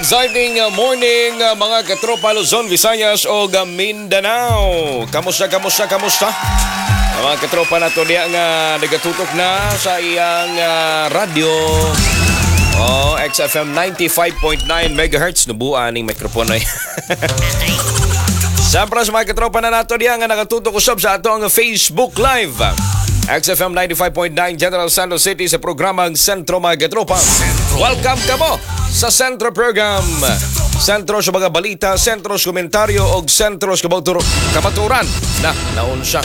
Exciting morning, mga katropa, Luzon, Visayas o Mindanao. Kamusta, kamusta, kamusta? Ang mga katropa nato diya nga nagatutok na sa iyang radyo. Oh, XFM 95.9 MHz. Nubuan ning mikropono ay. Siyempre sa mga katropa na nato diya nga nakatutok usab sa ato ang Facebook Live. XFM 95.9 General Santos City sa programang Sentro, mga katropa. Welcome kamo sa Sentro Program. Sentro sa mga balita, sentro sa komentaryo o sentro sa kamaturan na naunsa.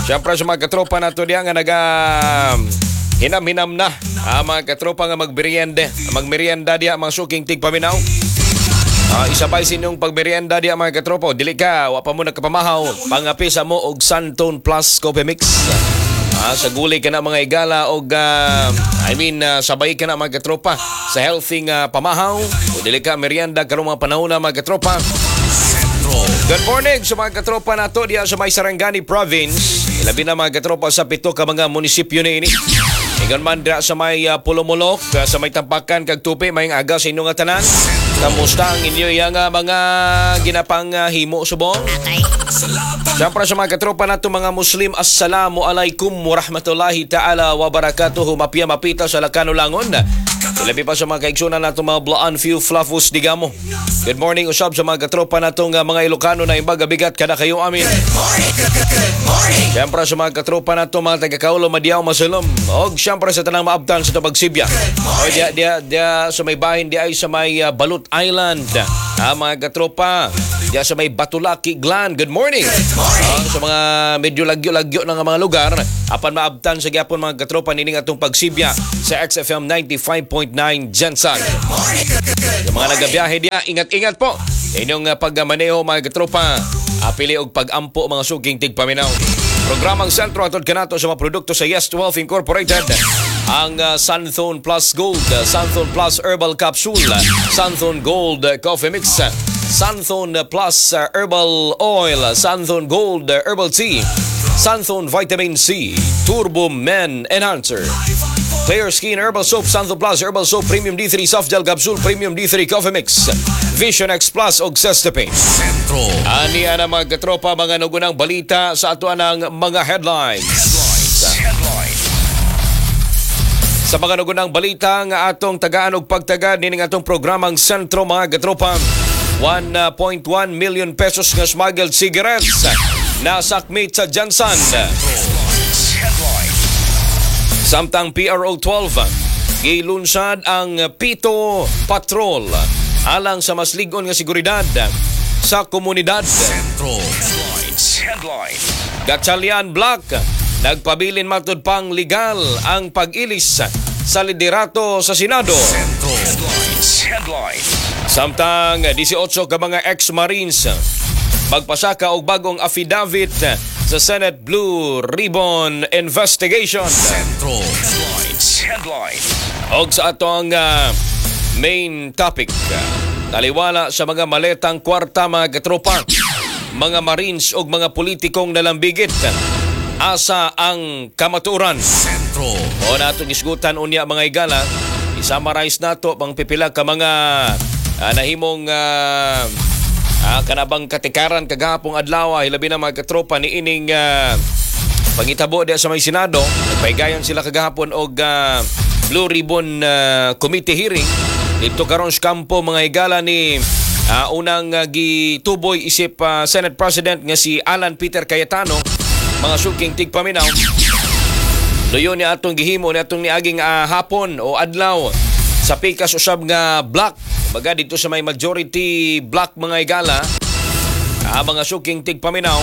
Siyempre sa mga katropa nato diya nga naga hinam-hinam na. Ah, mga katropa nga magmerienda diya, mga suking tigpaminaw. Ah, isabay sa inyong pagmerienda diya, mga katropa. Dili ka, wa pa mo nagkapamahaw. Pangapisa mo og Santon Plus Coffee Mix. Ah, sa gulay ka na, mga igala, og I mean sabay ka na, mga katropa, sa healthy nga pamahaw. O dili ka merienda karong mga panahon na, mga katropa. Good morning sa mga katropa nato diya sa may Sarangani Province. Ilabi na, mga katropa, sa pito ka mga munisipyo niini. Ingon man diya sa may Polomolok, sa may Tampakan kag Tupi, may aga sa inyong tanan. Kamusta ang inyo yang mga ginapang himo subong? Siyempre sa mga katropa nato mga Muslim, Assalamu alaikum warahmatullahi ta'ala wabarakatuhu. Mapia mapita sa Lakano Langon. Ilabi pa sa mga kaigsunan nato mga Blaan Few Fluffus Digamo. Good morning usab sa mga katropa natong mga Ilocano na imbaga bigat kada kayo amin. Siyempre sa mga katropa nato mga taga-Kaulo, Madiao, Masulom. Og siyempre sa tanang maabtan sa Tabagsibya. O diya, diya, diya sa may bahin diya ay sa may Balut Island. Ah, mga katropa, diya sa may Batulaki, Glan. Good morning. Ah, sa mga medyo lagyo-lagyo ng mga lugar, apan maabtan sa gyapon, mga katropa, nining atong pagsibya sa XFM 95.9 Gensan. Sa mga nagabiyahe diya, ingat-ingat po. Inyong pagmaneho, mga katropa, apili og pag-ampo, mga suking tigpaminaw. Programang Sentro atod kanato sa mga produkto sa Yes 12 Incorporated. Ang Santhone Plus Gold, Santhone Plus Herbal Capsule, Santhone Gold Coffee Mix, Santhone Plus Herbal Oil, Santhone Gold Herbal Tea, Santhone Vitamin C, Turbo Men Enhancer. Clear Skin Herbal Soap, Santhone Plus Herbal Soap, Premium D3 Soft Gel Capsule, Premium D3 Coffee Mix, Vision X Plus og Cestapin. Sentro. Ani ana, mga katropa, mga nugunang balita sa ato ang mga headlines. Headline. Sa mga nugunang balita nga atong tagaan og pagtaga nining atong programang Sentro, mga katropa, 1.1 million pesos nga smuggled cigarettes nasakmit sa Gensan. Headline. Samtang PRO 12 gilunsad ang Pito Patrol alang sa mas lig-on nga seguridad sa komunidad. Sentro. Headlines. Headline. Gatchalian Bloc nagpabilin matud pang legal ang pag-ilis sa liderato sa Senado. Sentro. Headlines. Headline. Samtang 18 ka mga ex-Marines magpasaka og bagong affidavit sa Senate Blue Ribbon Investigation. Sentro. Headlines. Headline. Og sa atong main topic, taliwala sa mga maletang kwarta, mga katropa, mga Marines og mga politikong nalambigit, asa ang kamatuoran? Sentro. O natong isgutan unya, mga igala, i-summarize nato pang pipila ka mga nahimong kanabang katikaran kagahapong adlaw, hilabi na, mga katropa, ni ining pangitabo diya sa may Senado. Nagpaigayon sila kagahapon og Blue Ribbon Committee hearing dito karon sa kampo, mga igala, ni unang gituboy isip Senate President nga si Alan Peter Cayetano, mga suking tigpaminaw. Luyo ni atong gihimo ni atong niaging hapon o adlaw sa pikas usab nga block. Baga dito sa may majority block, mga igala, mga suking tigpaminaw,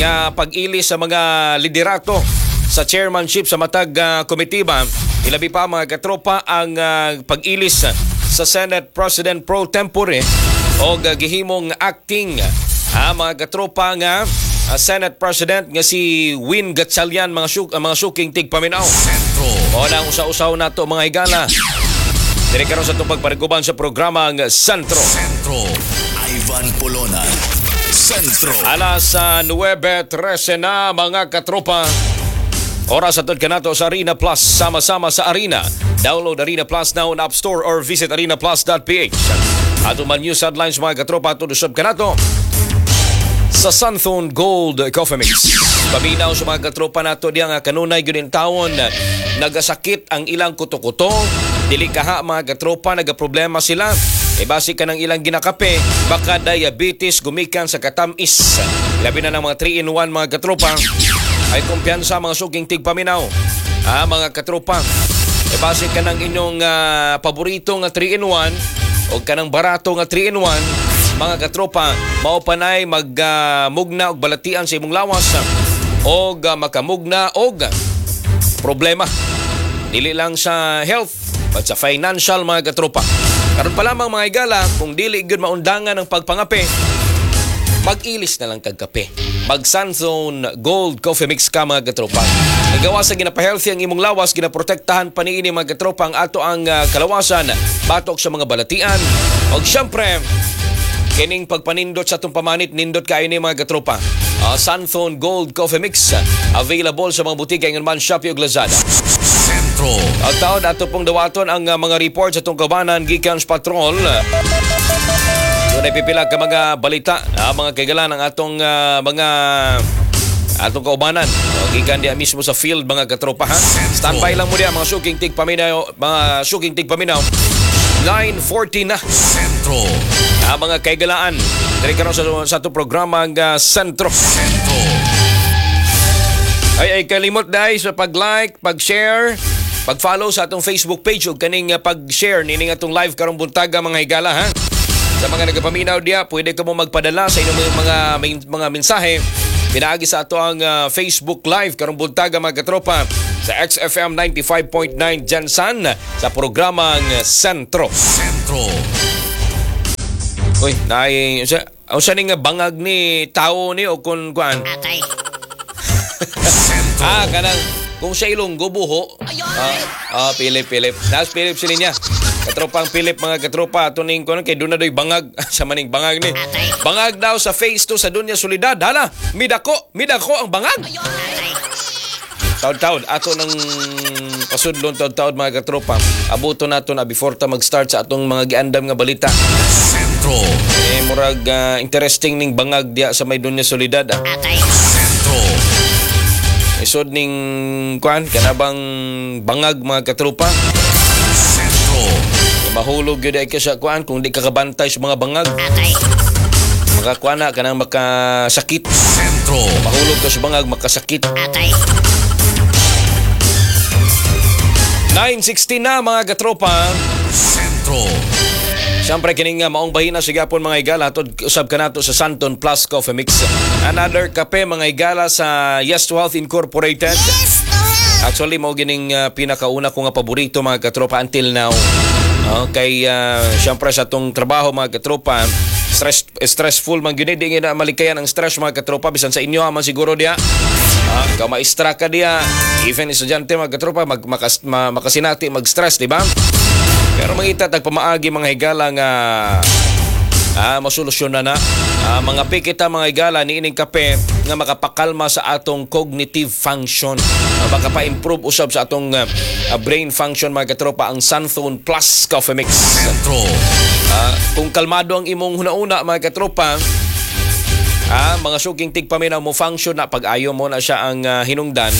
nga pag-ili sa mga liderato sa chairmanship sa matag komitiba, ilabi pa, mga katropa, ang pag-ilis sa Senate President pro tempore o gihimong acting, mga katropa, nga Senate President nga si Win Gatchalian, mga suking tigpaminaw. Sentro. O na ang usa-usaw nato, mga higala. Dire karon sa itong pagpariguban sa programang Sentro. Sentro. Ivan Polona. Sentro. Alas 9:13 na, mga katropa. Oras atod kanato sa Arena Plus, sama-sama sa Arena. Download Arena Plus now on App Store or visit arenaplus.ph. Ato man news headlines, mga katropa, atod usab kanato sa Santhone Gold Coffee Mix. Paminaw sa mga katropa nato diya nga kanunay gyud tawon nagasakit ang ilang kuto-kuto, dili kaha, mga katropa, nagaproblema sila. E base ka ng ilang ginakape, baka diabetes gumikan sa katamis. Labi na ng mga 3-in-1, mga katropa. Ay kumpiyansa, mga suking tigpaminaw. Ah, mga katropa. E base ka ng inyong paborito nga 3-in-1 o kanang barato nga 3-in-1, mga katropa, mao panay magmugna og balatian sa imong lawas og makamugna og problema. Dili lang sa health but sa financial, mga katropa. Karon pa lamang, mga igala, kung dili gyud maundangan ang pagpangape, mag-ilis na lang kag kape. Mag Sanzone Gold Coffee Mix ka, mga katropa. Nagawa sa ginapa-healthy ang imong lawas, ginaprotektahan pa niini, mga katropa, ang ato ang kalawasan batok sa mga balatian. Og syempre, kining pagpanindot sa atong pamanit, nindot kayo ni, mga katropa. Santhone Gold Coffee Mix, available sa mga butika ingon man Shopee ug Lazada. Sentro. Ang taon ato pong dawaton ang mga report sa atong kabanan gikan sa patrol. Doon ay pipila ka mga balita, mga kaigalan ang atong mga atong kaubanan. O, gikan diya mismo sa field, mga katropa, ha. Standby lang mo diya, mga suking tigpaminaw, mga suking tigpaminaw. 9:40 na. Sentro. Mga kaigalaan. Diri karon sa atong programa ang Sentro. Sentro. Ay ay kalimot dai sa pag-like, pag-share, pag-follow sa atong Facebook page ug kaning pag-share nining atong live karong buntaga, mga higala, ha. Sa mga nagapaminaw diya, pwede ka mo magpadala sa inyong mga mensahe pinaagi sa ato ang Facebook Live karong buntaga, mga katropa, sa XFM 95.9 GenSan sa programang Sentro. Sentro. Uy, naay unsa unsa ning bangag ni tao ni o kun kuan? Atay. Sentro. Ah, kanang kung sa Ilonggo, buho. Ah, Philip, Philip. Nas Philip sila niya. Katropang Philip, mga katropa, ato ning kuno kay doon na doy bangag sa maning bangag ni. Bangag daw sa phase 2 sa Dunya Soledad. Hala, midako, midako ang bangag. Atay. Taod-taod, ato nang pasudlon taod-taod, mga katropa. Abuto nato na before ta mag-start sa atong mga giandam nga balita. Sentro. Eh, murag interesting ning bangag diya sa may Dunya Soledad. Ah. Atay. Sentro. Isod ning kuan kanabang bangag, mga katropa. Sentro. Mahulog gyud ay ka sa kuan kung di ka kabantay sa mga bangag. Atay. Makakuan na kanang makasakit. Sentro. Mahulog ka sa bangag, makasakit. Atay. 9:16 na, mga katropa. Sentro. Siyempre kining maong bahina sa gapon, mga higala, atod usab kanato sa Santon Plus Coffee Mix. Another kape, mga higala, sa Yes to Health Incorporated. Yes to health. Actually, mao gining pinakauna ko nga paborito, mga katropa, until now. Kay siyempre sa atong trabaho, mga katropa, stressful man gyud, di na malikayan ang stress, mga katropa, bisan sa inyo man siguro diya. Ikaw maestra ka diya, even estudyante, mga katropa, makasinati mag-stress, di ba? Pero mangita tag pamaagi, mga higala, nga masolusyon na na. Mga pikita, mga higala, niining kape nga makapakalma sa atong cognitive function. Makapa-improve usab sa atong brain function, mga katropa, ang Santhone Plus Coffee Mix. Sentro. Kung kalmado ang imong hunauna, mga katropa, mga suking tigpaminaw, mo function na pag-ayo mo na siya ang hinungdan.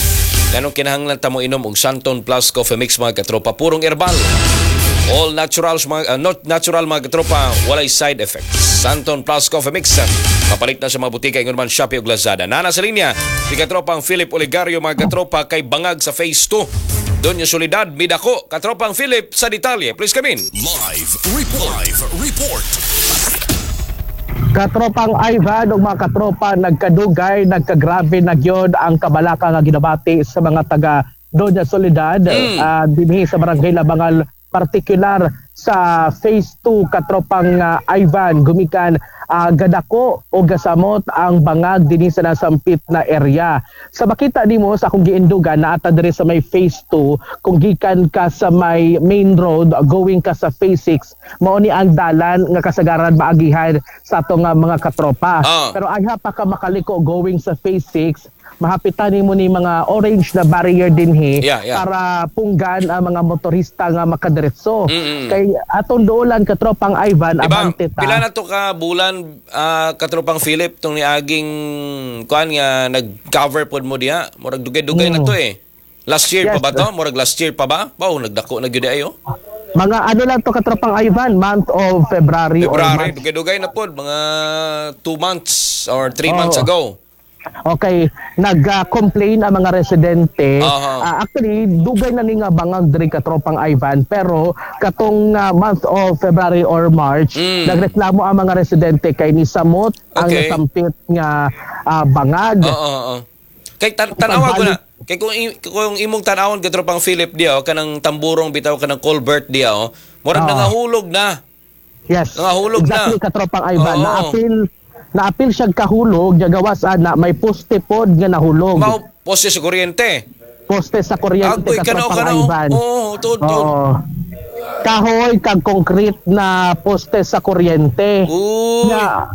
Ganong kinahanglan ta mo inom og Santon Plus Coffee Mix, mga katropa, purong herbal. All naturals mga not natural, mga katropa, walay side effects. Santon Plus Coffee Mix. Papalit na sa mga butika ingon man Shopee ug Lazada. Nana sa linya si katropang Philip Oligario, mga katropa, kay bangag sa phase 2. Doña Soledad midako. Katropang Philip, sa detalye. Please come in. Live report. Live report. Katropang Ivan ug mga katropa, nagkadugay, nagkagrabe na gyud ang kabalaka nga ginabati sa mga taga Doña Soledad dinhi sa Barangay Labangal, partikular sa Phase 2, katropang Ivan, gumikan gadako o gasamot ang bangag dinhi sa nasampit na area. Sa makita nimo sa akong giindugan, naata diri sa may Phase 2, kung gikan ka sa may main road going ka sa Phase 6, mao ni ang dalan nga kasagaran maagihan sa atong mga katropa. Pero ayha pa ka makaliko going sa Phase 6, Mahapitan nimo ni mga orange na barrier dinhi Yeah. para punggan ang mga motorista nga makadiretso. Kay atong duolan, katropang Ivan, Diba, abante ta. Pila na to ka bulan, katropang Philip, tong niaging kuan nga nag-cover pod mo diha? Murag dugay-dugay na to eh. Last year pa ba to? Murag last year pa ba? Wow, nagdako na gyud ayo. Mga ano lang to, katropang Ivan, month of February, or February, March. dugay-dugay na pod, mga 2 months or 3 months ago. Okay, nag-complain ang mga residente. Actually, dugay na ni nga bangag diri, katropang Ivan, pero katong month of February or March, nagreklamo ang mga residente kay ni samot ang nasampit nga bangag. Oo, oo. Kay tanawa ko na. Kay kung imong tanawon, katropang Philip, diha, oh, kanang tamburong bitaw, kanang culvert diha, oh, murag nangahulog na. Yes. Nangahulog na. Exactly, katropang Ivan. Naapil siya kahulog, gawas ana may poste pod nga nahulog. Mao poste sa kuryente. Poste sa kuryente, Agoy, kanaw katropang kanaw. Ivan. Oo, tuod tuod. Oo. Kahoy kag concrete na poste sa kuryente. Uy. Na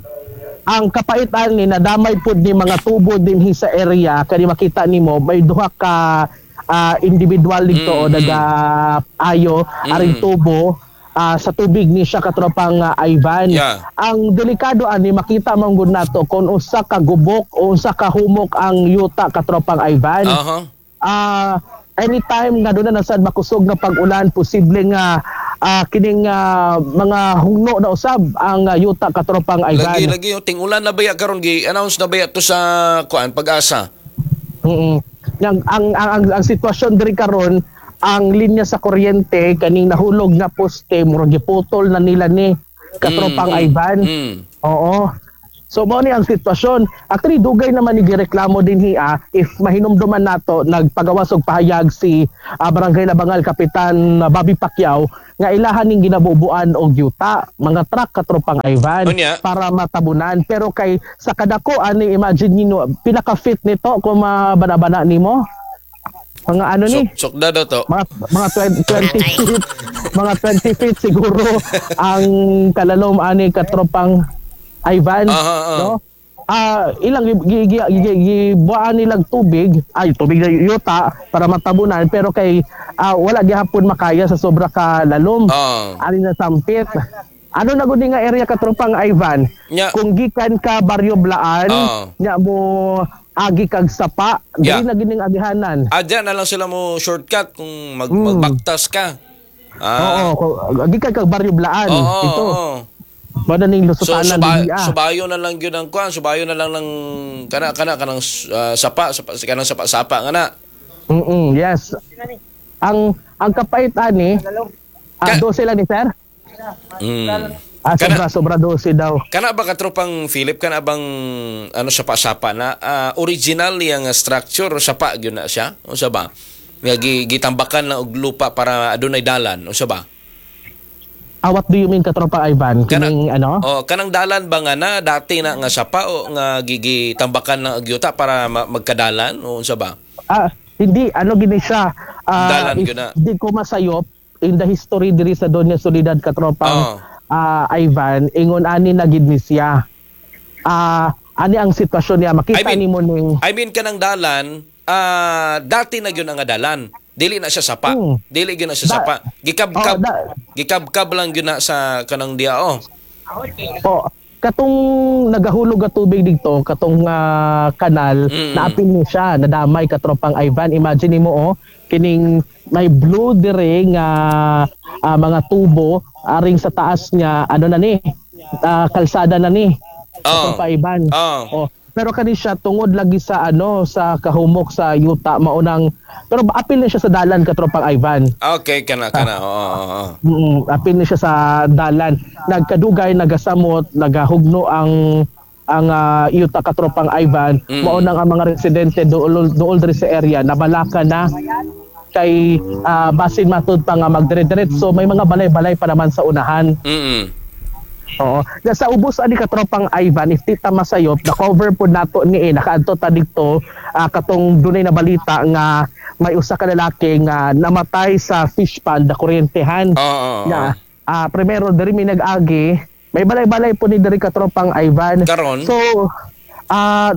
ang kapait ani, nadamay pud ni mga tubo dinhi sa area, kani makita nimo may duha ka individual dito o naga ayo aring tubo sa tubig ni siya, katropang Ivan. Ang delikado ani, makita man gud nato kung usa ka gubok o usa ka humok ang yuta, katropang Ivan. Anytime nga doon na nasad makusog nga pag-ulan, posible nga kining mga hugno na usab ang yuta, katropang Ivan. Lagi lagi yung ting-ulan na baya karon, gi announce na baya to sa kuan, Pag-asa. Ang sitwasyon diri karon, ang linya sa kuryente, kaning nahulog nga poste, murag giputol na nila ni, katropang Ivan. Oo. So mao ni ang sitwasyon. Actually, dugay naman ni gireklamo dinhi ah, if mahinumduman nato, nagpagawas og pahayag si Barangay Labangal Kapitan Bobby Pacquiao nga ilahan ning ginabubuan og yuta, mga truck, katropang Ivan, Unya. para matabunan. Pero kay sa kadako ani, imagine nino, pinaka-fit nito kung mabanabana nimo. Mga ano ni? Sukda daw to. Mga 20, 20 feet, mga 20 feet siguro ang kalalom ani, katropang Ivan, Aha, aha. no? Ilang gi- gi- gi- gibuan nilang tubig, ay tubig na yuta para matabunan, pero kay wala gihapon makaya sa sobra ka lalom. Ani na sampit. Ano na gud nga area, katropang Ivan? Kung gikan ka Baryo Blaan, nya mo agi kag Sapa, dili na gining agihanan. Diyan na lang sila mo shortcut kung magbaktas ka. Oo, gikan kag Baryo Blaan. Ito. Mao na ning So lusutanan dinhi, ah. Subayo na lang yun ang kuan, subayo na lang ng kana kana kanang sapa, sapa kanang sapa sapa nga na. Yes. Ang kapait ani, 12 lang ni sir. Sobra sobra 12 daw. Kana ba, katropang Philip, kana bang ano, sapa-sapa na original yang structure sapa gyud na siya? Unsa ba? Nga gitambakan lang og lupa para adunay dalan, unsa ba? What do you mean, katropa Ivan? Kining ano? Oh, kanang dalan ba nga na dati na nga sapa o nga gitambakan lang og yuta para magkadalan o unsa ba? Hindi ano gini siya. Dalan If gyud na. di ko masayop in the history diri sa Doña Soledad, katropang Ivan, ingon ani na gid ni siya. Ani ang sitwasyon niya, makita I mean, nimo ning I mean, kanang dalan dati na gyud ang nga dalan. Dili na siya sapa. Dili gyud na siya sapa. Gikabkab gikabkab lang gyud na sa kanang diya oh. Oh, katong nagahulog nga tubig dito, katong kanal, naapil ni siya, nadamay, katropang Ivan. Imagine nimo oh, kining may blue dire nga mga tubo aring sa taas niya, ano na ni? Kalsada na ni. Katropang Ivan. Oh, pero kani siya tungod lagi sa ano, sa kahumok sa yuta, maunang pero apil ni siya sa dalan, katropang Ivan. Okay, kana kana. Oo. Apil ni siya sa dalan. Nagkadugay, nagasamot, nagahugno ang yuta, katropang Ivan. Mao nang ang mga residente dool dool diri sa area nabalaka na kay basin matud pa nga magdire-diretso, may mga balay-balay pa naman sa unahan. Oo. Na sa ubos ani, katropang Ivan, if di ta masayop, na cover po nato ni eh, nakaadto ta dito katong dunay na balita nga may usa ka lalaki nga namatay sa fish pond na kuryentehan. Oo, oo, oo. Na primero diri mi nag-agi, may balay-balay po ni diri, katropang Ivan. Karon? So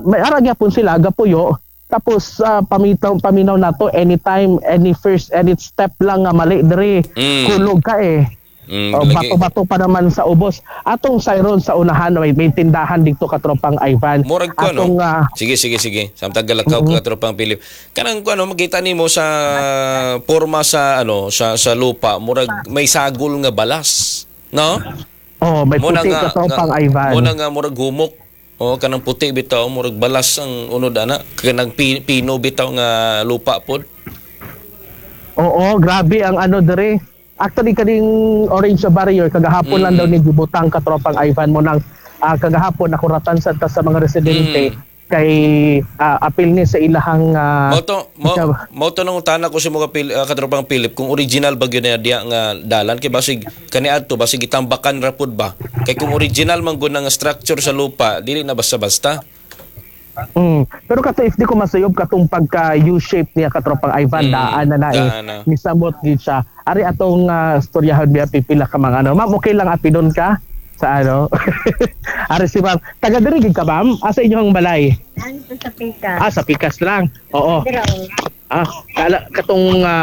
may ara gyapon sila gapuyo. Tapos pamitaw paminaw nato anytime, any first, any step lang nga mali diri, kulog ka eh. Oh, Lagi. Bato-bato pa naman sa ubos. Atong sayron sa unahan may tindahan dito, katropang Ivan. Murag ko Atong no. Sige, sige, sige. Samtang galakaw ka, tropang Philip. Kanang ko ano, makita nimo sa porma sa ano sa lupa, murag may sagol nga balas, no? Oh, may Muna puti, katropang Ivan. Muna nga murag humok. Oh, kanang puti bitaw, murag balas ang unod ana. Kanang pino bitaw nga lupa pod. Oo, grabe ang ano dere. Actually, kaning orange barrier kagahapon lang daw ni gibutang, katropang Ivan, mo nang kagahapon nakuratan sa ta sa mga residente kay apil ni sa ilahang Mao to mao to nang utana ko sa mga katropang Philip kung original ba gyud na diya nga dalan, kay basig kaniadto basig gitambakan ra pud ba, kay kung original man gud nga structure sa lupa, dili na basta-basta. Pero kato, if di ko masayop, katong pagka U-shape niya, katropang Ivan, daan na na eh. Daan na. Misamot gid siya. Ari atong storyahon biya, pipila ka mga ano. Ma'am, okay lang apidon ka sa ano? Ari si ma'am. Taga diri gid ka, ma'am? Asa inyong balay? Ano sa Pikas? Ah, sa Pikas lang. Oo. Pero, Ah, kala katong mga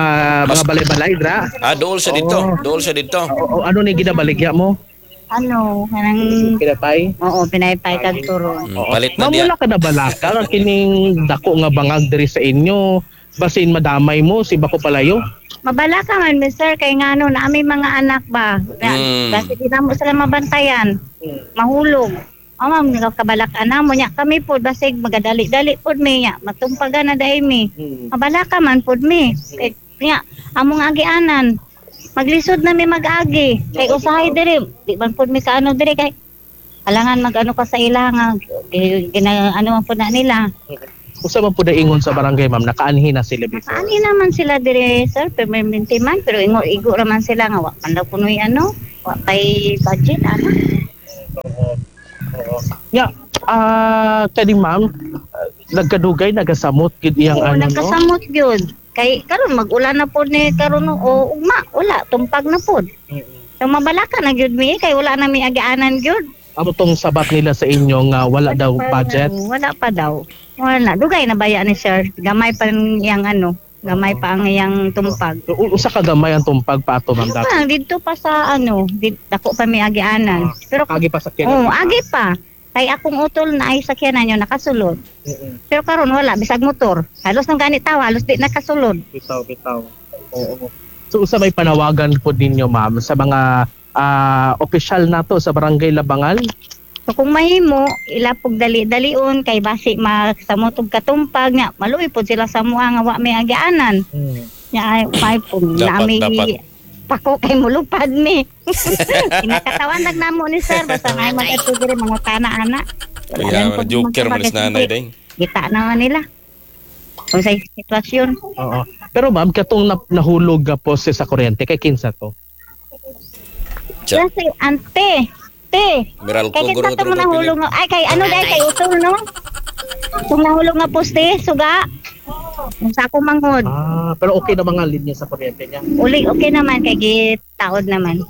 balay-balay dra. Ah, dool sa dito, dool sa dito. Oo, ano ni ginabaligya mo? Ano, kanang, Pinapay? Oo, pinaypay kag turon. Palit na Ma'am, diya. wala ka na balaka nga kining dako nga bangag diri sa inyo. Basin madamay mo si Bako Palayo. Mabala ka man, mister, kay ngano na aming mga anak ba? Na, kasi di na mo sila mabantayan. Mahulog. O ma'am, nagkabalak na mo nya kami po basig magadali-dali pod mi nya matumpagan na dai mi. Mabala ka man pod mi. Kay nya among agianan. Maglisod na mi mag-agi. Kay usahay diri, di man pod mi kaano diri kay alangan mag-ano ka sa ila nga gina, ano man pod na nila. Usa man pud ingon sa barangay, ma'am, nakaanhi na sila before? Ani naman sila dire, sir, permanente man, pero ingo igo ra man sila nga wa man daw kunoy ano, wa kay budget ana. Ya, kani ma'am, nagkadugay nagasamot gid iyang Oo, ano, no? nagkasamot gyud. Kay karon mag-ulan na pod ni karon o ugma, wala tumpag na pod. So mabalaka na gyud mi kay wala na mi agianan gyud. Amo tong sabat nila sa inyo nga wala daw Pa budget? Wala pa daw. Wala, dugay na baya ni sir. Gamay pa ang iyang ano, gamay pa ang iyang tumpag. Usa ka gamay ang tumpag pa ato, ma'am, Ano dati? pa, dito pa sa ano, dito, dako pa mi agianan. Pero Agi pa sa Oo, agi pa. Kay akong utol na ay sakyanan nyo nakasulod. Pero karon wala bisag motor. Halos nang gani tawa, halos di nakasulod. Bitaw, bitaw. Oo. So usa may panawagan po ninyo, ma'am, sa mga opisyal nato sa Barangay Labangal? So kung mahimo, ilapog dali-dalion kay basi magsamot og katumpag nga maluoy pod sila sa mua nga wa may agianan. Nya ay may po Dapat, na may dapat. pako kay mulupad mi. Kinakatawan nag namo ni sir basta may mag-adto diri mangutana ana. Wala Kaya lang pod joker man is nanay magpabagay. day. Kita na nila kung sa sitwasyon. Oo. Pero ma'am, katong nahulog nga poste sa kuryente kay kinsa to? Tsa. Kasi ante, te. Meralco Kay guro kita to mo tropang Philip. nahulog nga ay kay ano dai kay utol no. Kung nahulog nga poste, suga. Kung sa akong manghod. Ah, pero okay na mga linya sa kuryente niya. Uli okay naman kay gitaod naman.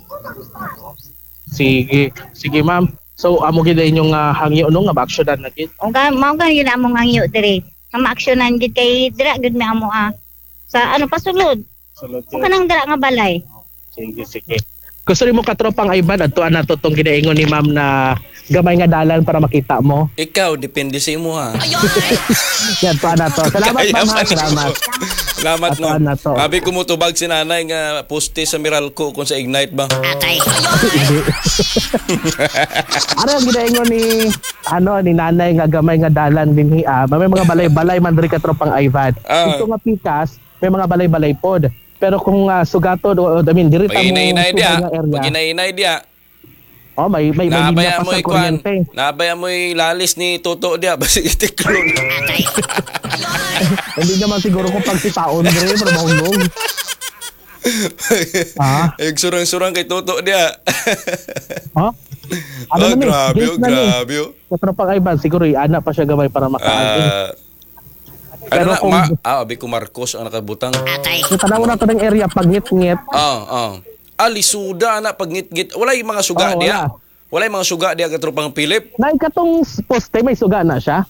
Sige, sige ma'am. So amo gid inyong hangyo no nga ma-actionan na gid. O ga mao ga yun among hangyo diri. Nga maaksyonan gid kay dira gid mi amo ah. Sa ano pasulod. Sulod O kanang dira nga balay. Sige, sige. Gusto nimo, katropang Ivan, adtuan nato tong ginaingon ni ma'am na gamay nga dalan para makita mo? Ikaw depende sa imo ha. Yan, adtuan nato. Salamat, Kaya ma'am, ha. pa ni- Salamat. Salamat, Atuan ma'am. na to. Abi kumutubag si nanay nga poste sa Meralco kung sa Ignite ba. Hindi. Ano ang ginaingon ni ano ni nanay nga gamay nga dalan dinhi ah? May mga balay-balay man diri, katropang Ivan. Ito nga pikas, may mga balay-balay pod. Pero kung sugaton o I mean diri ta Pag mo inainay sugay dia, nga area. pag inainay dia, Oh, may linya nabaya pa mo sa ikuan, kuryente. nabaya mo lalis ni Toto dia basi itiklon. Hindi naman siguro kung pagsipaon diri para mahulog. Ah, Ay surang-surang kay Toto dia. ha? Ano Oh, na ni? grabe, Gate oh, na ni. grabe. Oh. Katropang Ivan, siguro ana pa siya gamay para makaagi. Ano Pero na, abi ko Marcos ang nakabutang. So, tanaw na to ng area pag ngit-ngit. Ah. Ah, lisuda na pagngit-ngit. Wala yung mga suga Oh, diya. wala. Wala yung mga suga diya katropang Philip. Nay katong poste may suga na siya.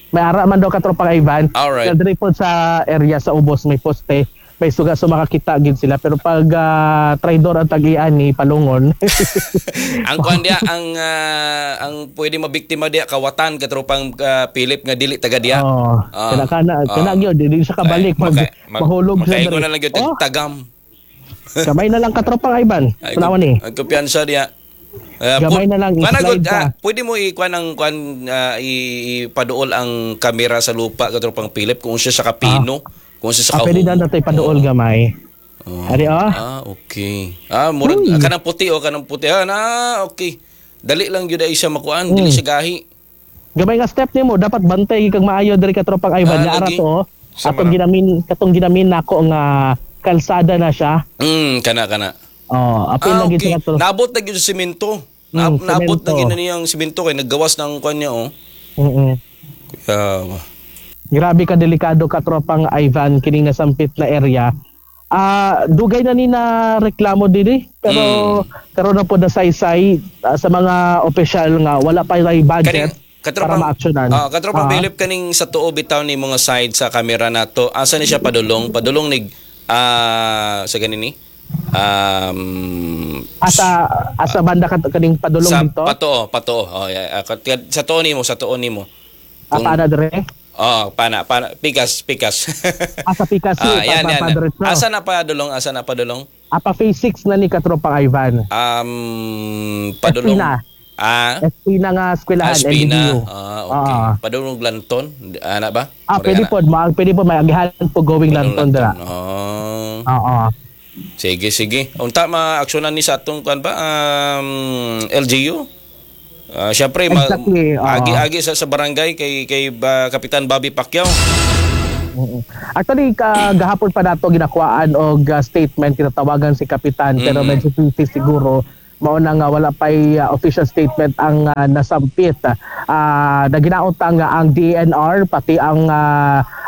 May ara man daw, katropang Ivan. Alright. Kaya diri pod sa area sa ubos may poste. May suga, so makakita gid sila, pero pag traidor ang tag-ian ni palungon. Ang kuan diya, ang pwede mabiktima diya kawatan, katropang Philip, nga dili taga diya. Oh, kana kana kana gyud dili siya kabalik, mahulog siya Makaingon diri. na lang gyud Oh, tagam. Gamay na lang, katropang Ivan. Ay, Tanawa ni. Ang kumpiyansa diya. Gamay na lang, Kuan i-slide good, ka. pwede mo i-kuan ang kuan, ipaduol ang kamera sa lupa, katropang Philip, kung siya sa kapino, kung siya sa Ah, pwede kahumo. na nato ipaduol gamay. Oh. Ari oh. Ah, okay. Ah, murag Uy. kanang puti oh, kanang puti. Ah, na, okay. Dali lang gyud ay siya makuan, dili siya gahi. Gamay nga step nimo, dapat bantay kag maayo diri, katropang Ivan. Ah, Nga ara lagi. to. Oh. Sa Atong ginamin, katong ginamin nako nga kalsada na siya. Kana kana. Oh, apil Ah, na gid okay. siya to. Naabot na gyud sa simento. Naabot na Semento. gyud na niyang simento kay naggawas ng kuan niya oh. Grabe ka delikado, katropang Ivan, kining nasampit na area. Ah, dugay na ni na reklamo dinhi, pero karon na po na saysay sa mga opisyal nga wala pa yung budget para ma-actionan. Ah, katropang Philip, kaning sa tuo bitaw ni mga side sa camera nato. Asa ni siya padulong? Padulong nig sa ganini? Asa asa banda ka kaning padulong Sa dito? Patoo, patoo. Oh, yeah. Sa tuo nimo, sa tuo nimo. Paana dire? Oh, pana, pana, pikas, pikas. Asa Picasso, Ah, yan, pa, yan. pa, Asa na padulong? Asa na padulong? Apa phase 6 na ni katropang Ivan. Padulong. Espina. Ah, SP na nga eskwelahan, Espina. LGU. Ah, okay. Padulong Lanton, ana ba? Ah, pwede ana. po, pwede po may agihan po going Padulong Lanton dira. Oh. Oo. Sige, sige. Unta ma-aksyonan ni sa atong kuan ba LGU? Ah, syempre Exactly, oo. agi-agi sa barangay kay kay Kapitan Bobby Pacquiao. Actually, gahapon pa nato ginakuhaan og statement, kinatawagan si Kapitan, pero medyo busy siguro, mao na nga wala pay official statement ang nasampit. Na ginautang nga ang DENR pati ang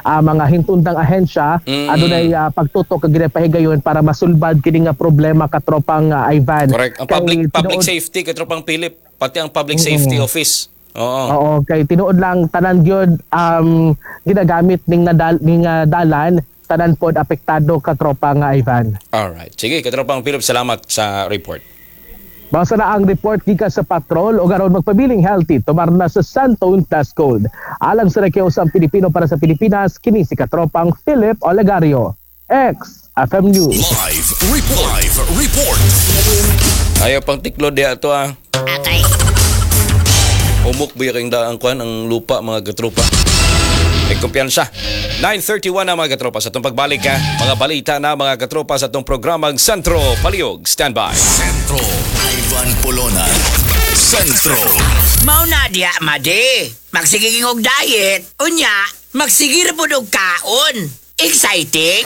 mga hintundang ahensya adunay pagtutok kag ginapahigayon para masulbad kini nga problema, katropang Ivan. Correct. Ang Kay public public safety, katropang Philip, pati ang public safety office. Oo. Oo, kay tinuod lang tanan gyud ginagamit ning nadal ning dalan, tanan pod apektado, katropa nga Ivan. All right. Sige, katropang Philip, salamat sa report. Basta na ang report gikan sa patrol o aron magpabiling healthy, tumar na sa Santone Plus Gold. Alang sa Rekyosang Pilipino para sa Pilipinas, kini si katropang Philip Olegario. X FM News. Live report. Live report. Ayaw pang tiklod diya to ah. Umok ba yung daang kuan ang lupa, mga katropa. May kumpiyansa. 9:31 na, mga katropa, sa itong pagbalik ha. Mga balita na, mga katropa, sa itong programang Sentro Palihog. Stand by. Sentro. Ivan Polona. Sentro. Mao na diya, madi. Magsige og diet. Unya, magsige ra pud og kaon. Exciting!